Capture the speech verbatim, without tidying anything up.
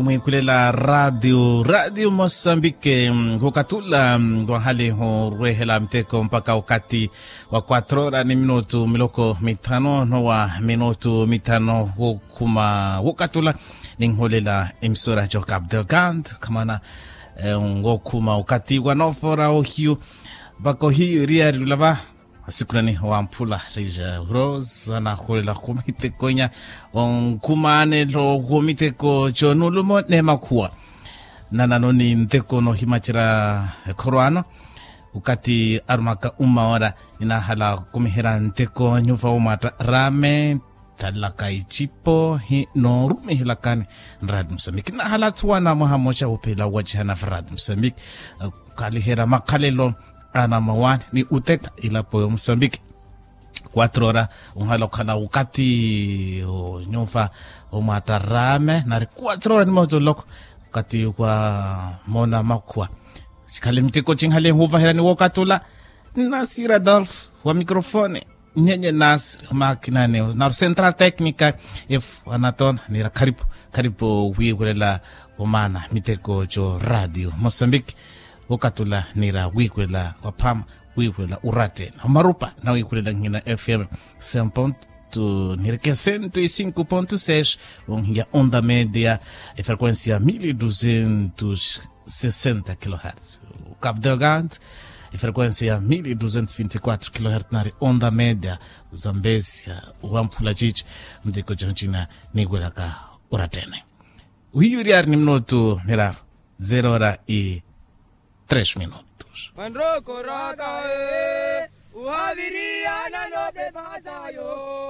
Mwiikhulela radio radio mosambike, khukathula wahalihu orwehela miteko mpakha okathi wa quatro ora ni minutu miloko mithanu nowa minutu mithanu wokhuma wokathula. Ninhulela emisora joh capdelgand khamana wokhuma okathi wa nofora ohiyu. Mpakha ohiyu eriyari olava asikhulani wamphula rija rose anahulela khumiteko inya onkhumanelo khumiteko jonulumo nemakhuwa. Nanano ni nteko nohimacerya ekhorwano okathi arumaka uma ora ninahala khumiherya nteko anyuva omata rame talaka icipo hi norumihelakani. Nradi musambiki nahala athuwana mwaha moxa wuphela wacihana vradi musambiki khaliherya makhalelo ana mawani ni uteka ilapo yo musambiki. Quatro ora onhala okhala okathi onyuva omwata rame nari quatro ora ni moto loko okathi kwa mona makhuwa. Xikhale miteko cinhale huvaherani wokathula nasir adolf wa microfone nyenye nasir makinane naru central tecnica. Efu anatona nira kharipu kharipu wiikulela omana miteko co radio mosambiki. Wokathula nira wiikulela waphama wiikulela urattene omarupa nawiikulela nhina fm cem ponto nireke cento e cinco ponto seis. Onhiya onda media efrequencia mil e duzentos sessenta kilohertz. Cabo delgado efrequencia mil e duzentos vinte e quatro kilohertz nari onda media zambezia wamphula cici. Ntiko caucina niikwelaka urattene. Uhiyuri ari ni minutu miraru zero ora i tres minutos. Manrokoraka e uhaviriana note pasayo.